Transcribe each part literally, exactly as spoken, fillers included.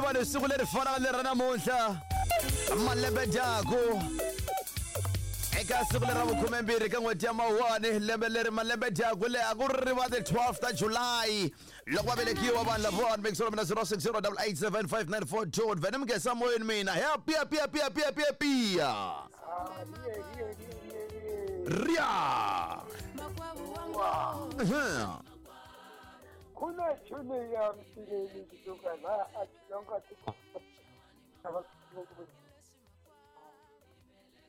vanhu siku leri fanaka leri ra namuntlha malembe dyaku eka siku leri ra vukhumembirhi ka n'hweti ya mawuwani lembe leri malembe dyaku le a ku ri va ti twelve ta July loko va velekiwa vanhu lavawani mixolo mina zero six zero double eight seven five nine four two vene mi nghesa moyeni mina happy happy happy happy happy happy ria. Kuna chune ya mtileni kutoka la achilonga tuko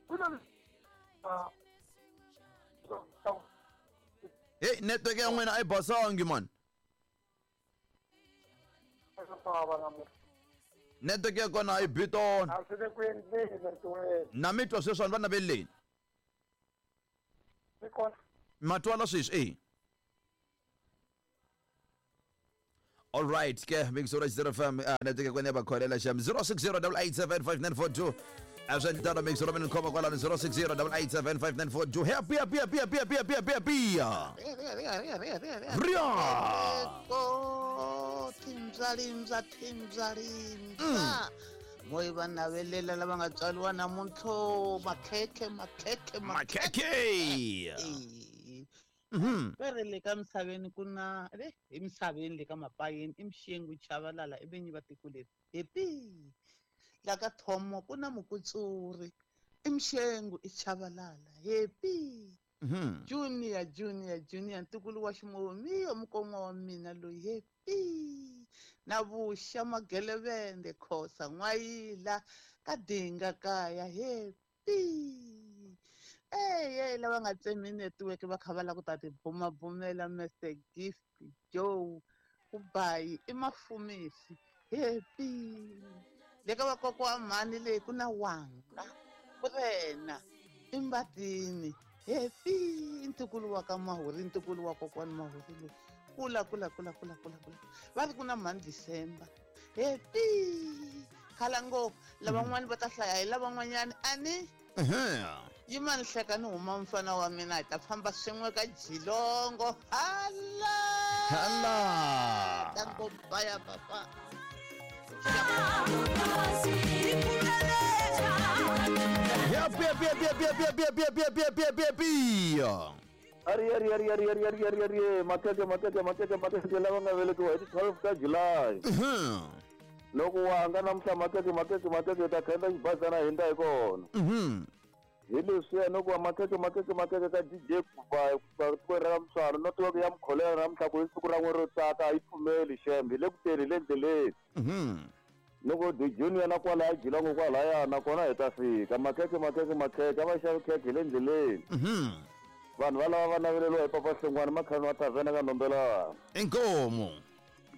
kuna hey network ya n'wina a yi basangi man. Network ya kona a yi bitona na mi twa sweswi vanhu va naveleni ma twala sweswi eh. All right, ke big zero zero F M network kwene ba kholela sham zero six zero double eight seven five nine four two. Asantana big zero mina khoma kwala zero six zero double eight seven five nine four two. Happy happy happy happy happy happy happy happy. Ria. Ko timzalimza timzalimza. Moyi va navelela lava nga tswariwa namuntlha makhekhe makhekhe makhekhe. Mhm. Vere le ka misaveni ku na le emisaveni le ka mapayeni i Mxengu Chavalala i vinyi va tiko leri happy la ka Thomo ku na Mukutsuri i Mxengu i Chavalala happy. Mhm. Junior Junior Junior ntukulu wa ximomiyo mukon'wa wa mina loyi happy na vuxa Magelevende Khosa N'wayila ka Dinga kaya happy. Hey, hey, lava nga tsemi network va kha va lava ku ta tibumabumela Mister Gift Joe Kubayi i Mafumisi happy le ka vakokwa wa mhani leyi ku na Wanga Kurena i Mbatini happy ntukulu wa ka Mahuri ntukulu wa kokwani Mahuri loyi kula kula kula kula kula kula va ri ku na mhani December happy khala ngopfu lavan'wani va ta hlaya hi lavan'wanyani ani. Yimani hleka ni huma mfana wa mina hi ta famba swin'we ka Jilongo hala hala tango baya papa. Happy happy happy happy happy happy happy happy happy happy happy. Ari ari ari ari ari ari ari ari makeke makeke makeke makeke lava nga velekiwa hi ti twelve ta July. Loko wanga namuntlha makeke makeke makeke ta khenda xibazana hi nda hi kona. Mhm. Hi leswiya no ku va makeke makeke makeke ka D J Kubayi ku ra Mswalo network ya mukholela namuntlha ku i siku ra n'we ro tsaka a yi pfumeli xem hi le ku teni hi le ndleleni. Mhm. Loko D Junior na kwalaya Jilongo kwalaya nakona hi ta fika makeke makeke makeke a va xavi khekhe hi le ndleleni. Mhm. Vanhu va lava va naveleriwa hi Papa Hlongwane Makhani wa tavhena ka Ndombelana. Inkomo.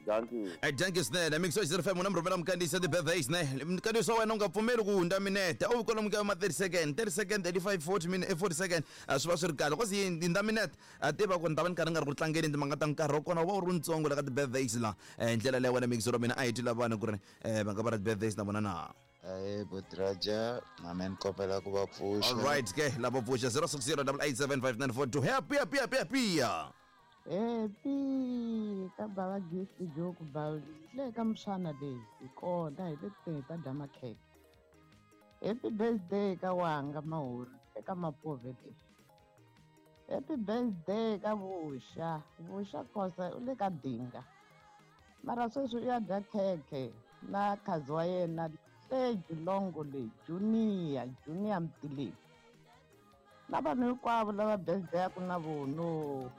Dankie. Eh dankie swinene mixo zero five muna mrhumela mukandisa ti-birthdays ne mkandiso wa wena u nga pfumeli ku hundza minete u kwalomu ka ma thirty second thirty second thirty-five forty minute forty second swi va swi ri kahle cause yi hundza minete a tiva ku ni ta va ni karhi ni nga ri ku tlangeni timhaka ta nkarhi wa kona wu va wu ri ntsongo la ka ti-birthdays la hi ndlela leyi wena mixo ra mina a hi twi lava vanhu ku ri va nga va ra ti-birthdays na vona na. Aye Botraja na mina ni kombela ku va pfuxa. All right ke lava pfuxa zero six zero double eight seven five nine four two happy happy happy happy. Happy ka bava Gift Joe Kubayi le ka Mswana leyi hi kona hi le kuteni hi ta dya makhekhe. Happy birthday ka Wanga Mahuri eka Mapove leyi. Happy birthday ka Vuxa Vuxa Khosa u le ka Dinga mara sweswi u ya dya khekhe na khazi wa yena le Jilongo leyi Junior Junior Mtileni na vanhu hinkwavo lava birthday-aku na vono.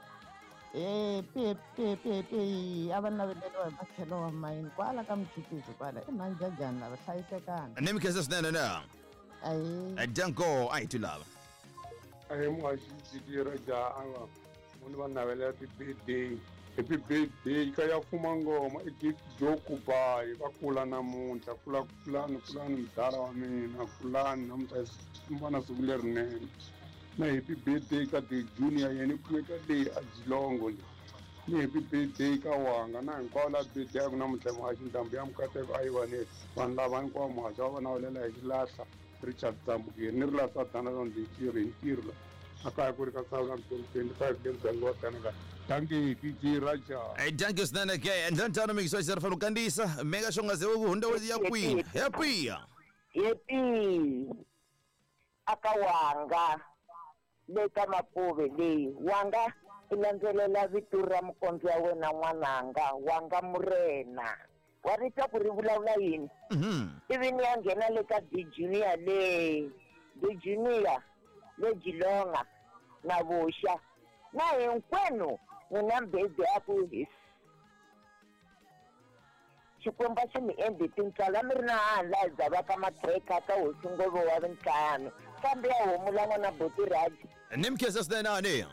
Happy happy happy happy a va naveleriwa hi matlhelo wa mayini kwala ka Mchukezi kwala i mhanjajani lava hlayisekanga. Ni mi khensa swinene na. Ayi. Danko a hi twi lava. Ahe muhaxi ra ava munhu va navelela ti-birthday happy birthday ka ya fuma ngoma i Gift Joe Kubayi va kula namuntlha kula kulani kulani mudala wa mina kulani namuntlha va na siku lerinene na happy birthday ka The Junior yena i kumeka leyi a Jilongo leyi ni happy birthday ka Wanga na hinkwavo la birthday ya ku namuntlha muhaxi ndhambi ya mukateko a yi va ne vanhu lava hinkwavo muhaxi wa va navelela hi xilahla Richard Dzambukeri ni ri la Sathana londzi hi ntirho hi ntirho la A kaya ku ri ka South twenty five le muganga wa Kanaka. Thank you D J Raja. Hey, thank you swinene ke endla ntano mixo xi ri kandziyisa meka xo nga ze ku hundza ya kwini happy happy aka wanga le ka Mapuve leyi wanga i landzelela vito ra mukondzo wa wena n'wananga wanga murena wa ri twa ku ri vulavula yini ivi ni ya nghena le ka D Junior le D Junior le Jilonga na Vuxa na hinkwenu n'wina mbhedi ya ku hi Xikwembu xi mi endli tintswalo mi ri na hala dzava ka makhekha ka hosi Ngove wa vintlhanu kambe ya homu la n'wana Boti Raji ni mkhensa swinene ani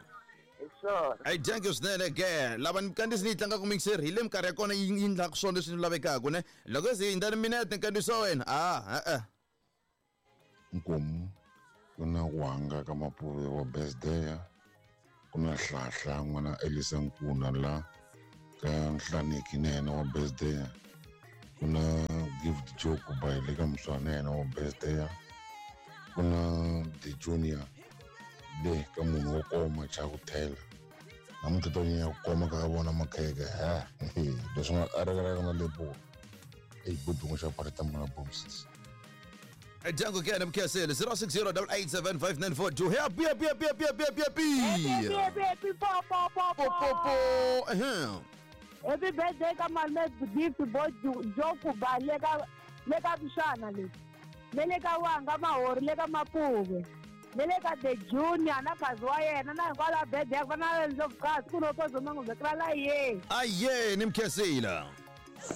Hey, thank you swinene ke lava ni kandziyisi ni yi tlangaka mixer hi le minkarhi ya kona yi endlaka swona leswi ni lavekaka ne loko se hindza ni minete nkandziyiso wa wena a e-e Nkomu ku na wanga ka Mapuve wa birthday ku na Hlahla n'wana Elisa Nkuna la ka Nhlaniki na yena wa birthday ku na Gift Joke by le ka Muswana yena wa birthday ku na The Junior le ka munhu wo koma Chakuthela namuntlha to nyanya ku koma ka vona makheke ha leswi nga a rekelaka na lepo eyi budungu xa pareta muna bombs Django ke mkhesele zero six zero eight eight seven five nine four two happy happy happy happy happy happy happy happy happy po po po po po po happy birthday ka malume Gift Boy Joku ba le ka le ka Mshana le le ka wanga Mahori le ka Mapuve le le ka The Junior na khazi wa yena na hinkwala birthday ku na Ndlovukazi ku no kozo mangu la ye aye ni mkhesile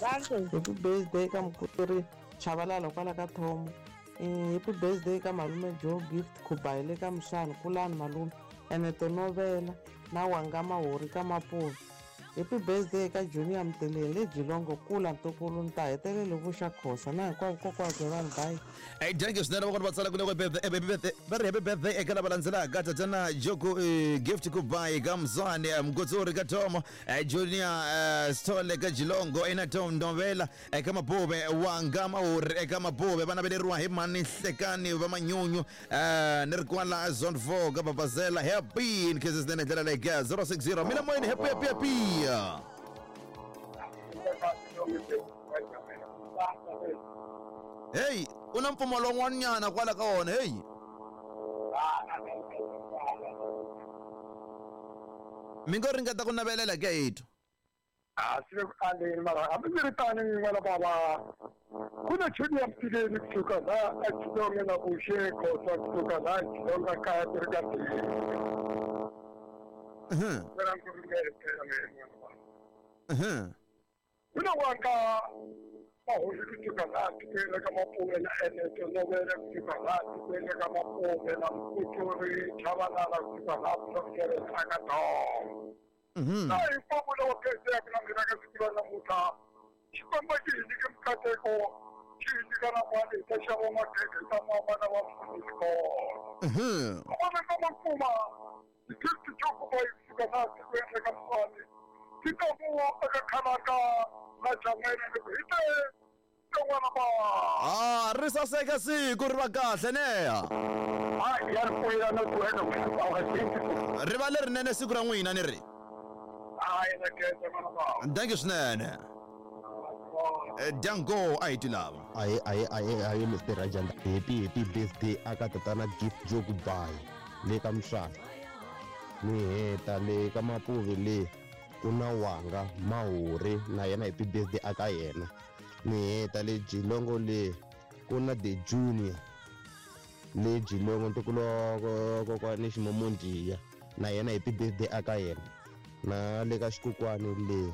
happy birthday ka mukuteri Chabalala kwala ka Thomo. Happy birthday ka malume Joe Gift Khubayi le ka Mshana kulani malume ene tonovela na wanga Mahori ka Mapuve. Happy birthday ka Junior Mteleli le Jilongo kula ntukulu nta hetelele vuxa Khosa na hinkwavo kokwakhe vanhu bye. Hey, thank you swinene vakona va tsala ku le happy birthday va ri happy birthday eka lava landzelaka tatana Joko Gift Khubayi ka Mzwane Mgotsori ka Thomo Junior Sithole ka Jilongo ena Tom Novela eka Mapuve wanga Mahori eka Mapuve va naveleriwa hi mani Hlekani va Manyunyu ni ri kwala zone four ka Babazela happy in cases swinene ndlela leyi ka zero six zero mina moyeni happy happy happy. Hey, una mpfumawulo wun'wanyana kwala ka wona hey. Mi ngo ringeta ku navelela ke hitwa a swi le ku aleni mara hambi swi ri tani n'wana bava ku na Junior Mtileni kusuka laha a Xilonga na Vuxe Khosa kusuka laha Xilonga kaya ku ri ka ku na wanga Mahori kusuka laha tikweni ka Mapuve na Eneto Novela kusuka laha tikweni ka Mapuve na Mkutsuri Chabalala kusuka laha Plokeresa ka Thomo na hinkwavo lava pheseyaka na mina ka siku ra namuntlha Xikwembu xi hi nyike mikateko xi hi nyika na mali hi ta xava makhekhe hi ta mama na vafundhisi kona vona ka makuma Gift Joku Boy kusuka laha tikweni ka Mswani ti ta ku eka Khalanga na Jamela loko hi te tin'wana ba ah ri saseka siku ri va kahle neya hayi ya ri pfulela na ku heta ku ri va lerinene siku ra n'wina ni ri hayi na khensa n'wana ba thank you swinene Django a hi ti lava aye aye aye aye Mister Rajanda happy happy birthday aka tatana Gift Joku Boy le ka Mshana ni heta le ka Mapuve le ku na wanga Mahori na yena happy birthday aka yena ni heta le Jilongo le ku na The Junior le Jilongo ntukulu wa kokwani Ximomondiya na yena happy birthday aka yena na le ka Xikukwani le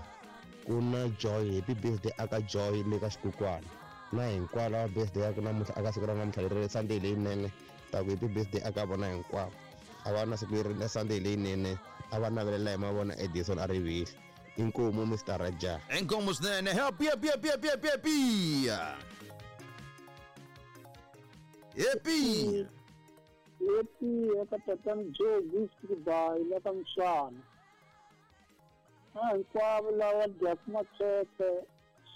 ku na Joy happy birthday aka Joy le ka Xikukwani na hinkwavo lava birthday ya ku namuntlha aka siku ra namuntlha leri Sunday leyinene ta ku happy birthday aka vona hinkwavo a va na siku leri na Sunday leyinene a va navelela hi mavona Edison a rivile inkomu Mister Raja inkomu swinene happy happy happy happy happy happy happy happy eka tatana Joe Gift Khubayi la ka Mshana na hinkwavo lava dyaka makhekhe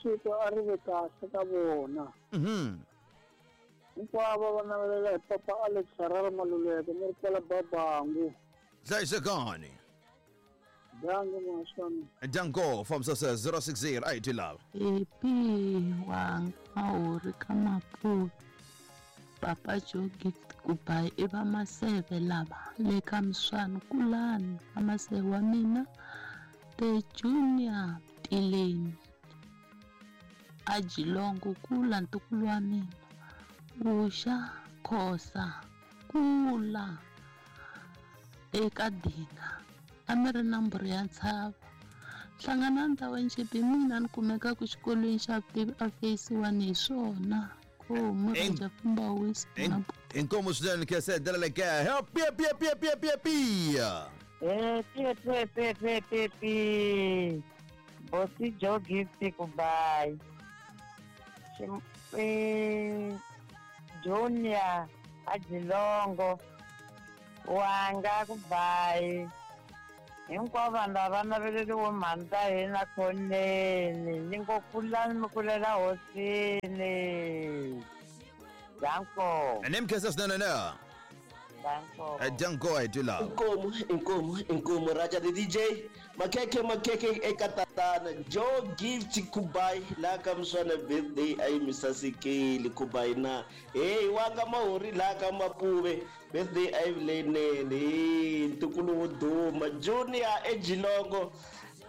siku a ri ve kahle ka vona Hinkwavo va navelela hi papa Alex Harare Maluleke ni ri kwala Babangu. Hlayisekani. Dango muhaxi. Dango from sasa zero six zero eight love. Happy wanga mahori ka Mapuve. Papa Joe Gift Kubai i va Maseve lava le ka Mswani kulani va Maseve wa mina the Junior Tileni a Jilongo kula ntukulu wa mina Usha Khosa kula eka Dinga a mi ri namboro ya ntshava hlangana ndhawu njhepi mina ni kumekaka xikolweni xa vutivi a phase one hi swona. Inkomo swinene khe ndlela le ka happy happy happy happy happy happy. Happy happy happy happy. Bosi Joe Gift Kubai. Junior Ajilongo Wanga Kubai. Hinkwavo vanhu lava naveleriwe mhani ta hina khoneni ni ngo kulani mi kulela hosini. Danko. Ni mkesa swinene na. Danko. Danko I do love. Inkomu, inkomu, inkomu Raja the D J. Makeke makeke eka tatana Joe Gift Kubai la ka Mswana birthday ayi misasekeli Kubai na. Hey wanga mahori la ka Mapuve birthday ayi leyinene ntukulu wo duma Junior eJilongo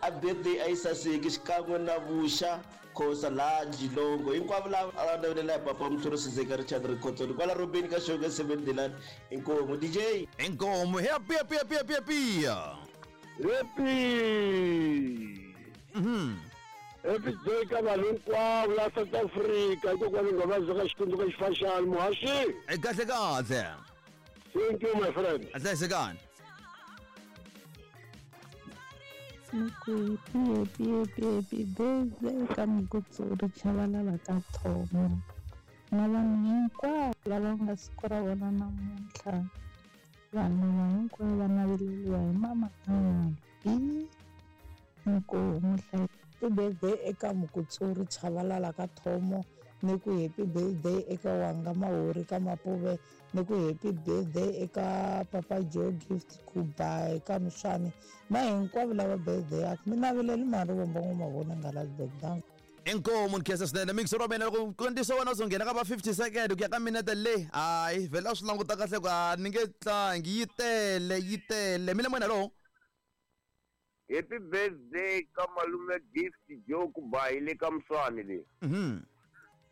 a birthday ayi saseki xikan'we na Vusha Khosa la Jilongo hinkwavo lava a va navelela hi papa Mhluri Sizeka Richard Rikhotsoni kwala Robeni ka Xonge seven Delani. Inkomu D J. Inkomu happy happy happy happy happy. Happy. Mhm. Happy day ka vanhu hinkwavo la South Africa hikokwalaho nga va ka xikundu ka xifashani muhaxi. Kahle kahle. Thank you my friend. Hlayisekani. Happy happy happy happy birthday ka Mukutsuri Chabalala ka Thomo na vanhu hinkwavo lava nga siku ra vona namuntlha. Vanhu va hinkwavo va naveleriwa hi mama Albi. Inkomu. Happy birthday eka Mukutsuri Chabalala ka Thomo ni ku happy birthday eka Wanga Mahori ka Mapuve ni ku happy birthday eka Papa Joe Gift Kubai ka Mswani na hinkwavo lava birthday yakho mi naveleli mari vomba n'wamavona nga Lasburg. Danko. Inkomu nkhensa swinene mixer wa mina loko ntiso wena u nghena ka va fifty second ku ya ka minete leyi hayi vhela a swi languta kahle ku a ni nge tlangi yi tele yi tele mi le moyeni hallo. Happy birthday ka malume Gift Joe Kubai le ka Mswani le. Mhm.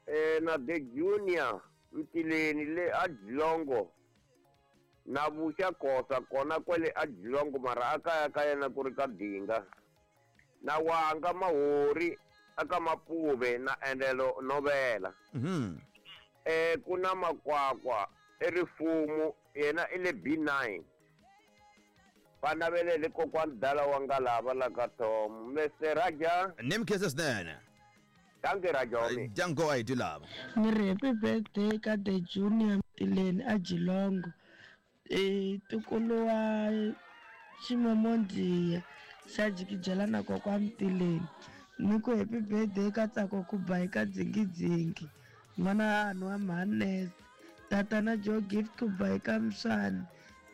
Eh na the Junior Mtileni le a Jilongo na Vusha Khosa kona kwele a Jilongo mara a kaya ka yena ku ri ka Dinga na Wanga Mahori aka Mapuve na Endelo Novela. Mhm. Eh ku na Makwakwa erifumu yena i le B nine. Va navelele kokwani dala wa nga lava la ka Tom Mister Raja. Ni mkhensa swinene. Danke Raja. Danko I do love. Ni ri happy birthday ka the Junior Mtileni a Jilongo. Eh ntukulu wa Ximomondiya xa jikijela na kokwa Mtileni. Ni ku happy birthday ka Tsako Kubai ka Dzingidzingi n'wana Anu wa Mhanese tatana Joe Gift Kubai ka Mswani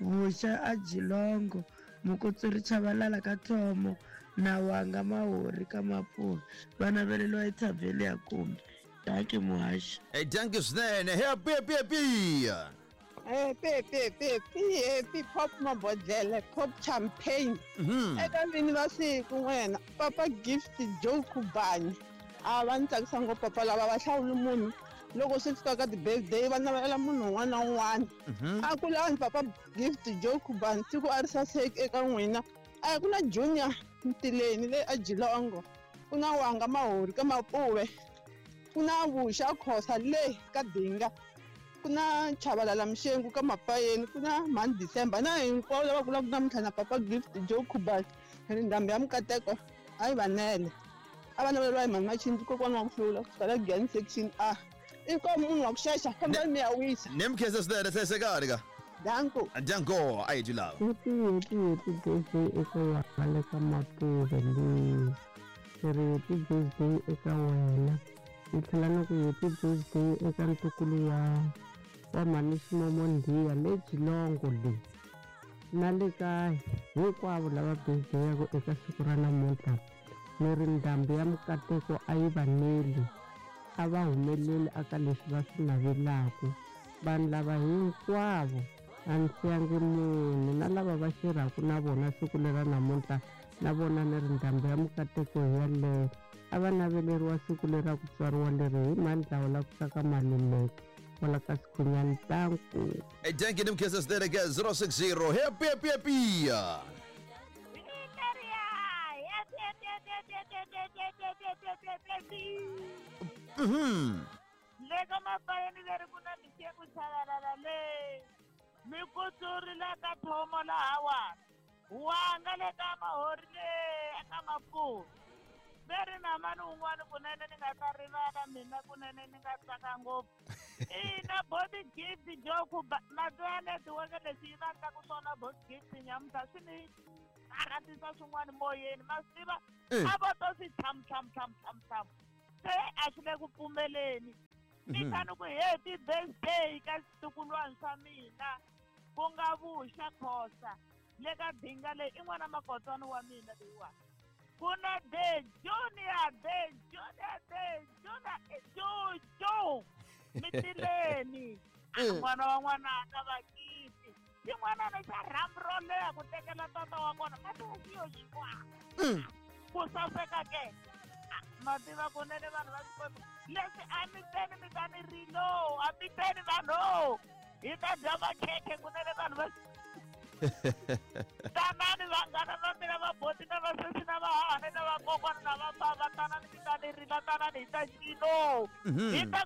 Vusha a Jilongo Mukutsuri Chabalala ka Thomo na Wanga Mahori ka Mapuve va naveleriwa hi Thavheli ya Kumbe. Dankie muhaxi. Hey dankie swinene. Happy happy happy. Happy happy happy happy pop mabodlele pop champagne. Eka vini va siku n'wena Papa Gift Joe Kubai a va ni tsakisa ngopfu papa lava va hlawuli munhu loko swi fika ka ti-birthday va navelela munhu un'wana na un'wana. A kulani Papa Gift Joe Kubai siku a ri saseki eka n'wina. A ku na Junior Mtileni le a Jilongo ku na Wanga Mahori ka Mapuve ku na Vusha Khosa le ka Dinga ku na Chabalala Mshengu ka Mapayeni ku na Mhani December na hinkwavo lava kulaka namuntlha na Papa Gift Joe Kubai ri ndhambi ya Mukateko a yi vanele a va naveleriwa hi Mhani Machindi kokwana wa ku hlula kusuka la Giyani section A. Inkomu munhu wa ku xexa fambani mi ya wisa. Ni mkhensa swinene hlayisekani ka. Danko. Danko I do love. Happy happy happy birthday eka wena le ka Mapuve leyi. Ni ri happy birthday eka wena Ni tlhela ni ku happy birthday eka ntukulu wa wa mhani Ximomo Ndhiya le Geelong le. Na le ka hinkwavo lava birthday-aka eka siku ra namuntlha. Ni ri ndhambi ya mikateko a yi va neli, a va humeleli aka leswi va swi navelaka. Vanhu lava hinkwavo a ni siyangi munhu, na lava va xirhaka na vona siku lera namuntlha na vona ni ri ndhambi ya mikateko hi yaleyo. A va naveleriwa siku lera ku tswariwa leri hi Mandlawu la ku saka Maluleke wala ka Sikhunyani. Tanku. Hey, thank you, Nimkesa Stereke zero six zero. Happy, happy, happy. Mhm. Leka mapayeni leri ku na mixeko chavalala le. Mikutsuri la ka thomo lahawa. Wanga le ka mahori le eka Mapuve. Veri na mani un'wana kunene ni nga ta rivala mina kunene ni nga tsaka ngopfu. Ina body gift joku mati ya netiweke leswi yi va endlaku swona body gift nyamuntlha swi ni karhatisa swin'wana moyeni ma swi tiva a vo to swi tham tham tham tham tham se a swi le ku pfumeleni. Ni kha ni ku happy birthday ka switukulwana swa mina ku nga Vuxa Khosa le ka Dinga leyi i n'wana makotswana wa mina leyiwani. Ku na the junior, the junior, the junior, Jojo Mitileni n'wana wa n'wananga vakiti xin'wanana xa rhambu ro leha ku tekela tata wa kona mati yo xikwa ku saseka ke ma tiva kunene vanhu va Xikwembu leswi a mi teni mi ta ni rilo a mi teni vanhu hi ta dya makhekhe kunene vanhu va tanani vanghana va mina vaboti na vasesi na vahahani na vakokwana na vabava tanani mi ta ni rila tanani hi ta cino hi ta